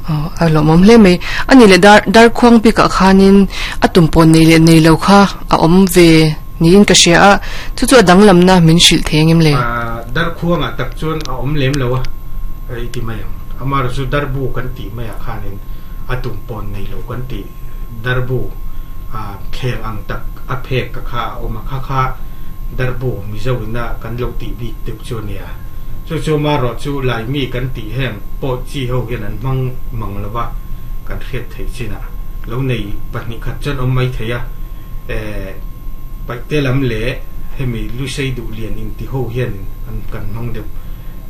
A lawmawm hle mai. A nih leh dar darkhuang bikah khanin a tum pawn nei leh nei lo kha a awm ve niin ka hria a, chu chu a danglamna min hrilh thei engem le? Darkhuangah tak chuan a awm lem lo a, i ti mai ang. Amaherawhchu chu darbu kan tih maiah khanin a tum pawn nei lo kan tih darbu thleng ang tak a phek ka kha a awm a, kha kha darbu Mizo ina kan lo tih bik deuh chu a nia. Chu chu marawh chu Laimi kan tih heng pawh chi ho hian an hmang mang lo va, kan hriat theih chinah lo nei pahnih khat chuan awm mai thei a, eh Paihte lam leh hemi Lusei duh lian inti ho hian an kan hmang deuh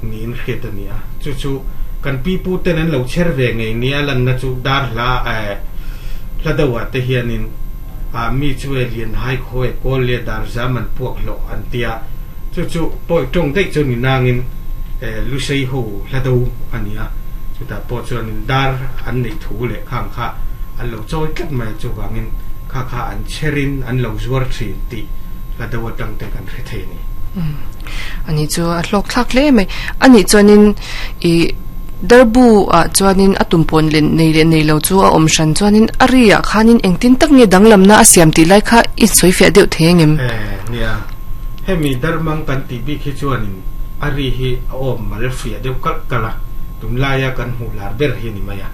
niin hriat a ni a. Chu chu kan pipu ten an lo chher ve ngei nia lanna chu dar hla eh hla deuhah te hianin ah mi chu e lian hai khaw e kawl leh dar zam an puak hlawh an tia. Chu chu pawi tawng daih chu ni nangin Lusei ho hla do a ni a, chutah pawh chuanin dar an neih thu leh khang kha an lo chawi tlat mai a, chuvangin kha kha an chherin an lo zuar thin tih hla do atang te kan hre thei a ni. A nih chu a hlawk thlak hle mai. A nih chuanin i darbu ah chuanin a tum pawn leh nei leh nei lo chu a awm hran chuanin a ri ah khanin engtin tak nge danglamna a siam tih lai kha i sawi fiah deuh thei angem? Nia. Hemi darmang kan tih bik hi chuanin a ri hi a awm mal fiah deuh kalh kalh a, tunlaia kan hmuh lar ber hi a ni mai a.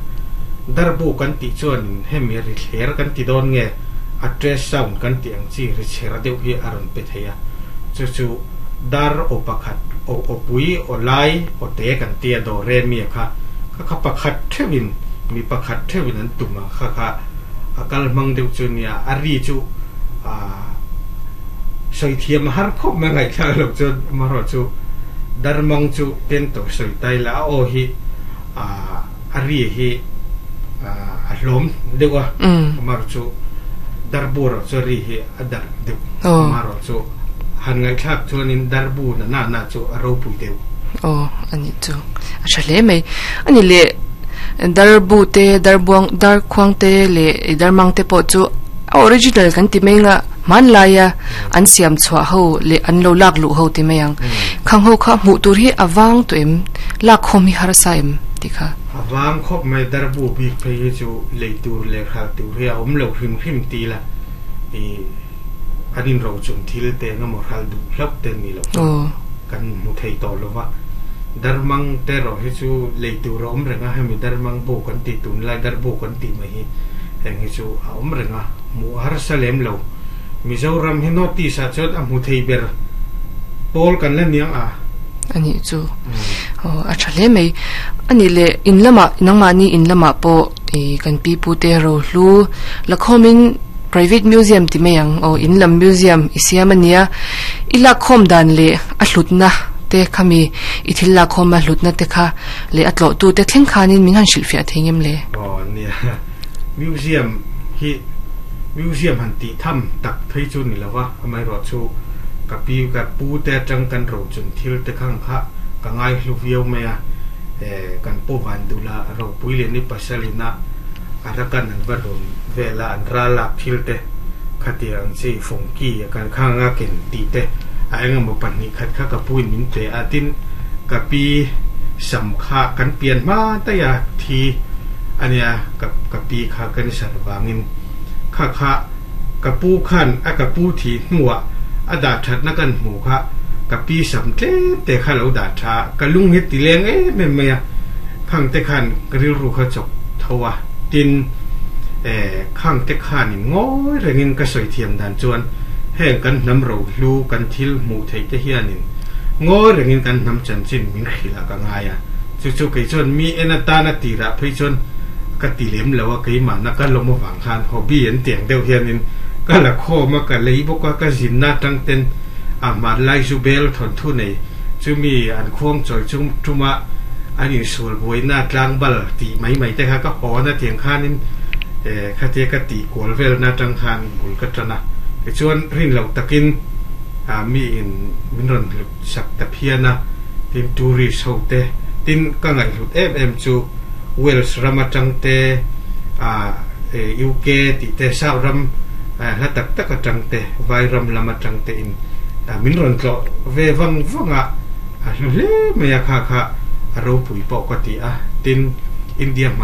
Darbu kan tih chuanin hemi ri thler kan ti dawn nge a trash sound kan tih ang chi ri chher deuh hi a rawn pe thei a. Chu chu dar aw pakhat aw aw pui aw lai aw te kan tia do re mi a kha kha kha pakhat theuhin mi pakhat theuhin an tum a kha kha a kal hmang deuh chu nia a ri chu aa Sawi thiam a har khawp mai ngaihthlak loh chuan amaherawhchu darmang chu ten tawh sawi ta ila a aw hi a ri hi a hlawm deuh a amaherawhchu darbu erawh chu a ri hi a darh deuh amaherawhchu han ngaihthlak chuanin darbu na na na chu a ropui deuh. Aw a nih chu a tha hle mai a ni leh darbu te darbuang darkhuang te leh darmang te pawh chu a original kan ti mai anga Hmanlaia an siam chhuah ho leh an lo lak luh ho ti mai ang. Khang ho kha hmuh tur hi a vang tawh em? Lak khawm hi harsa em? Ti kha. A vang khawp mai, darbu bik phei hi chu lei tur leh hral tur hi a awm lo hrim hrim ti la i an inro chung thil te engemaw hral duh hlauh te ni lo chuan kan hmu thei tawh lo va. Darmang te erawh hi chu lei tur a awm reng a, hemi darmang bu kan tih tunlai darbu kan tih mai hi heng hi chu a awm reng a. Hmuh a harsa lem lo. Mizoram hi North East ah chuan a hmu thei ber pawl kan la niang a. A nih chu. Aw a tha hle mai. A nih leh in lamah nangmahni in lamah pawh ih kan pi pu te rohlu lakhawmin private museum ti mai ang aw in lam museum i siam a nia. I lakkhawm dan leh a hlutna te khami i thil lakkhawma hlutna te kha leh a tlawhtu te thleng khanin min han hrilhfiah thei ngem le? Aw nia. Museum hi museum han tih tham tak phei chu ni lova, amaherawh chu ka pi ka pu te atang kan rochun thil te khang kha ka ngai hlu viau mai a, eh kan pu van dula ropui leh ni pasalina Arakan an va rawn vel a, an ral lak thil te khatiang ang chi fawngki a kan khang a ken tih te a engemaw pahnih khat kha ka pu in min pe a, tin ka pi sam kha kan pian hma daih a thi a nia ka ka pi kha cancer vangin kha kha ka pu khan a ka pu thih hnuah a dah thatna kan hmuh kha ka pi sam tlem te kha lo dah tha a ka lung hi ti leng em em mai a khang te khan ka rilru kha chawk tho a tin eh khang te khanin ngawi rengin ka sawi thiam dan chuan heng kan hnam rohlu kan thil hmuh theih te hianin ngawi rengin kan hnam chanchin min hrilh a ka ngai a. Chu chu kei chuan mi en atana tirah phei chuan ka ti lem lo a, keimahna ka lawm avang khan hobby an tiang deuh hianin ka la khawm a, ka lei bawk a, ka zinna atang ten a hmanlai zu bel thawnthu nei chu mi an khuang chawi chung tuma an insual buaina tlangbal tih mai mai te kha ka hawn a tiang khanin khatia ka tih kual velna atang khan bul ka tan a, tichuan rin loh takin mi in min rawn hlut sak ta phian a, tin tourist ho te, tin ka ngaihhlut em em chu Wales ram atang te, ah UK tih te South ram hla tak tak atang te, vai ram lam atang te in min rawn tlawh ve vang vang a, a hlu hle mai a kha kha a ropui pawh ka ti a, tin India hmai.